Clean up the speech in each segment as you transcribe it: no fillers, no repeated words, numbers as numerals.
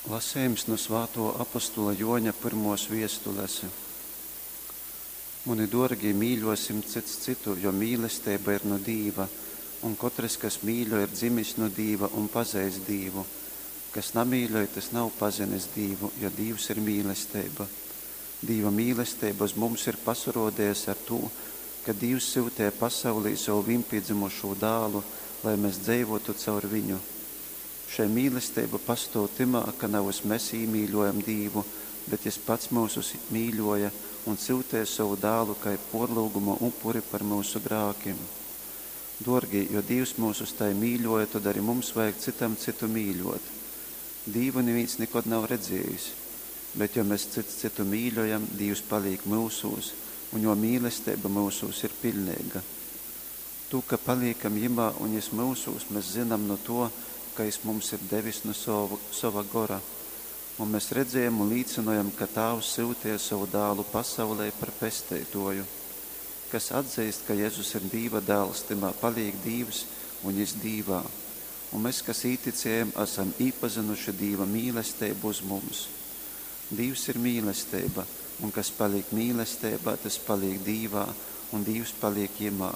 Lasejums nu svātuo apostola Juoņa pyrmuos viestules. Muni duorgī, mīļuosim cyts cytu, jo mīlesteiba ir nu Dīva, un kotrys, kas mīļoj, ir dzimis nu Dīva un pazeist Dīvu. Kas namīļoj, tys nav pazinis Dīvu, jo Dīvs ir mīlesteiba. Dīva mīlesteiba uz mums ir pasaruodejusi ar tū, ka Dīvs syuteja pasaulī sovu vīnpīdzymušū dālu, lai mes dzeivuotu caur viņu. Šei mīlesteiba pastuov tymā, ka navys mes īmīļuojam Dīvu, bet Jis pats myusus mīļuoja un syuteja sovu dālu kai puorlyuguma upuri par myusu grākim. Duorgī, jo Dīvs myusus tai mīļuoja, tod ari mums vajag cytam cytu mīļuot. Dīvu nivīns nikod nav redziejis, bet jo mes cyts cytu mīļojam, Dīvs palīk myusūs, un juo mīlesteiba myusūs ir piļneiga. Tū, ka palīkam jymā un jys myusūs, mes zynam nu tuo, ka jys mums ir devis nu sova gora. Un mes redzējam un līcynojam, ka Tāvs syuteja sovu dālu pasaulē par pesteituoju. Kas atzeist, ka Jezus ir Dīva dāls, tymā palīk Dīvs un jys Dīvā. Un mes, kas īticējam, asam īpazynuši Dīva mīlesteibu uz mums. Dīvs ir mīlesteiba, un kas palīk mīlesteibā, tys palīk Dīvā, un Dīvs palīk jymā.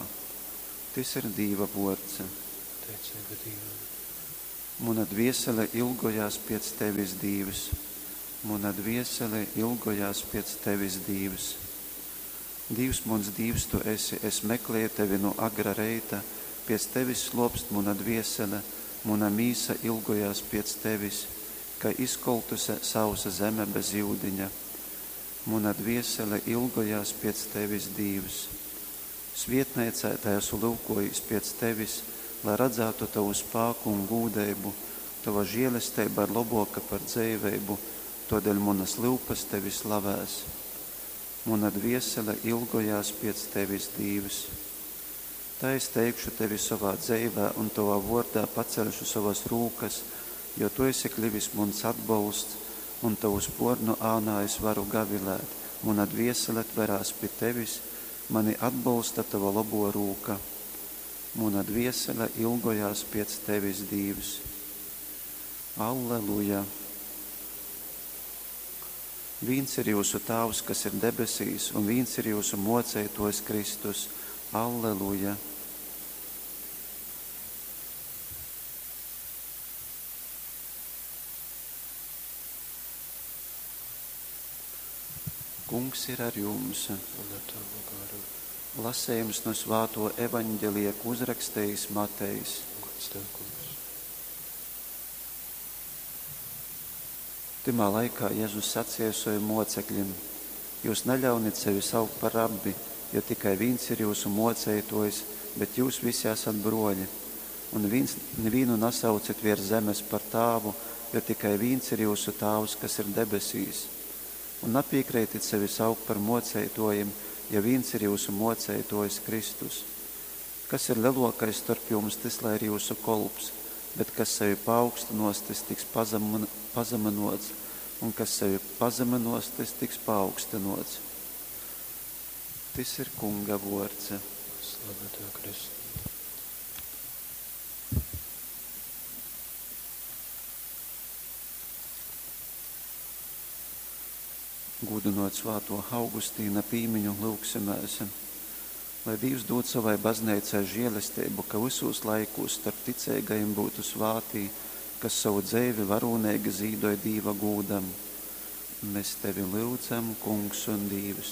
Tys ir Dīva vuords. Teiceiba Dīvam. Muna dviesele ilgojās piec Tevis, Dīvs. Muna dviesele ilgojās piec Tevis, Dīvs. Dīvs muns Dīvs Tu esi, es mekleju Tevi nu agra reita, piec Tevis sluopst muna dviesele, muna mīsa ilgojās piec Tevis, kai izkoltuse sausa zeme bez iudiņa. Muna dviesele ilgojās piec Tevis, Dīvs. Svietneicā tai asu lyukuojīs piec Tevis, lai radzātu Tovu spāku un gūdeibu, Tova žielesteiba ir lobuoka par dzeiveibu, tuodeļ munys lyupys Tevi slavēs. Muna dviesele ilgojās piec Tevis, Dīvs. Tai es teikšu Tevi sovā dzeivē un Tovā vuordā paceļšu sovas rūkas, jo Tu esi klivis muns atbolsts, un Tovu spuornu ānā es varu gavilēt. Muna dviesele tverās pi Tevis, mani atbolsta Tova lobuo rūka. Muna dviesele ilgojās piec Tevis, Dīvs. Alleluja! Vīns ir jūsu Tāvs, kas ir debesīs, un vīns ir jūsu Muoceituojs Kristus. Alleluja! Kungs ir ar jums! Un ar tavu garu. Lasejums nu svātuo evaņģelija, ko uzrakstejis Matejs. Gods tev, Kungs. Tymā laikā Jezus saceja sovim muocekļim: Jyus naļaunit sevi saukt par rabbi, jo tikai vīns ir jyusu muoceituojs, bet jyus visi asat bruoļi. Un vīns, nivīnu nasaucit viers zemes par tāvu, jo tikai vīns ir jyusu tāvs, kas ir debesīs. Un napīkreitit sevi saukt par muoceituojim, ja vīns ir jyusu muoceituojs Kristus. Kas ir leluokais storp jums, tys lai ir jyusu kolps, bet kas sevi paaugstynuos, tys tiks pazamynuots, un kas sevi pazamynuos, tys tiks paaugstynuots. Tys ir Kunga vuords. Slava tev, Kristu. Gūdynojot svātuo Augustīna pīmiņu, lyugsimēs, lai Dīvs dūd sovai bazneicai žielesteibu, ka vysūs laikūs storp ticeigajim byutu svātī, kas sovu dzeivi varūneigi zīdoj Dīva gūdam. Mes tevi lyudzam, Kungs un Dīvs.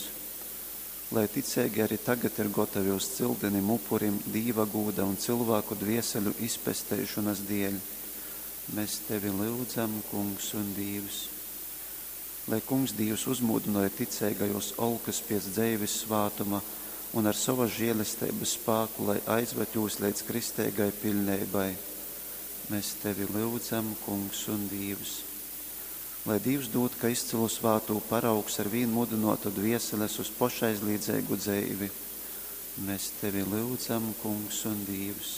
Lai ticeigi ari tagad ir gotovi uz cyldynim upurim Dīva gūda un cylvāku dvieseļu izpesteišonas dieļ. Mes tevi lyudzam, Kungs un Dīvs. Lai Kungs Dīvs uzmūdynoj ticeigajūs olkys piec dzeivis svātuma un ar sovas žielesteibys spāku lai aizvad jūs leidz kristeigai piļneibai. Mes tevi lyudzam, Kungs un Dīvs. Lai Dīvs dūd, ka izcylu svātū paraugs arvīn mudynuotu dvieseles uz pošaizlīdzeigu dzeivi. Mes tevi lyudzam, Kungs un Dīvs.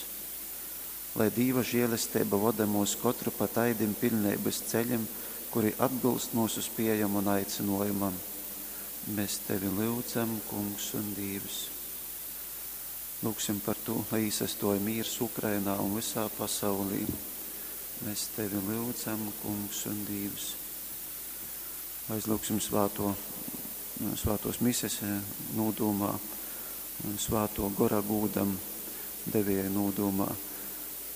Lai Dīva žielesteiba voda myus kotru pa taidim piļneibys ceļim, kuri atbylst myusu spiejom un aicynuojumam. Mes tevi lyudzam, Kungs un Dīvs. Lyugsim par tū, lai īsastuoj mīrs Ukrainā un vysā pasaulī. Mēs Tevi lyudzam, Kungs un Dīvs. Aizlūgsim svāto, svātos mises nūdūmā, svāto gora gūdam, devēja nūdūmā.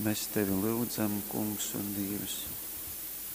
Mēs Tevi lyudzam, Kungs un Dīvs.